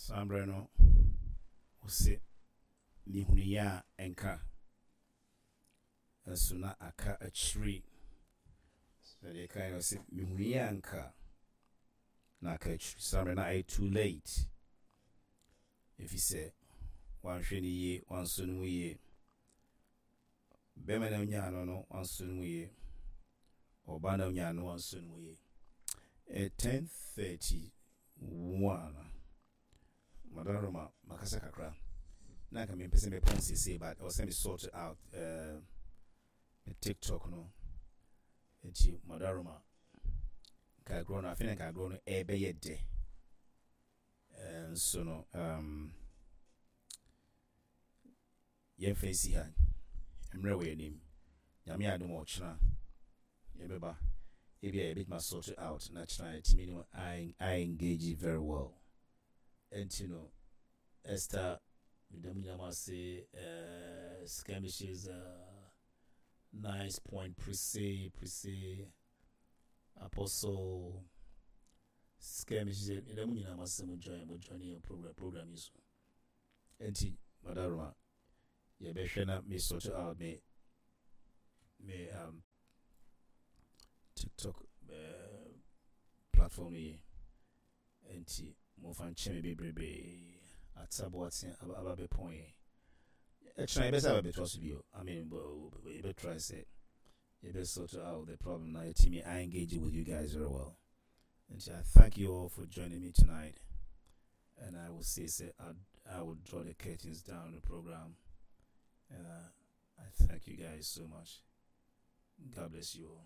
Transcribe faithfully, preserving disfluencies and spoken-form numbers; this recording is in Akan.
Saa mmerɛ no, ɔse mehunuyɛ a ɛnka nso na aka akyiri. Sɛdeɛ ɛkae no, ɔse mehunuyɛ a nka na aka akyiri. Saa mmerɛ no ayɛ too late, ɛfiri sɛ wanhwɛ no yie, wansɔ no mu yie. Bɛrima na onyaa no no wansɔ no mu yie, ɔbaa na onyaa no wansɔ no mu yie. Ten thirty one, Madam Roma, makasa kakra na nka mempɛ sɛ mepɔn seesei, but ɛwɔ sɛ me sort out uh, me TikTok no. Nti Madam Roma, nka agorɔ no afei na nka agorɔ no ɛbɛyɛ dɛ nso no, um, yɛmfa nsi ha. Mmerɛ wɔ anim, Nyame adom, ɔkyena yɛbɛba. Ebi a yɛbɛtumi sort it out na kyena yɛtumi no I, I engage very well. Ɛnti no, Esther, meda mu nyinaa ase. uh, skirmishes, uh, nice point, Prese Prese Apostle Skirmishes, meda mu nyinaa ase. Mo join mo join yɛn program program yi so. Ɛnti Madaroma, yɛbɛhwɛ na me sort out me me um, TikTok uh, platform yi. Nti momfa nkyɛ me bebrebe. Ataboate aba bɛpɔn yɛn. Ɛkyena yɛbɛsɛ aba bɛtoa so bio. I mean, yɛbɛtry sɛ yɛbɛ sort out the problem na yɛtumi I engage with you guys very well. Nti I thank you all for joining me tonight, and I will say say I, I will draw the curtains down the program, and uh, I thank you guys so much. God bless you all.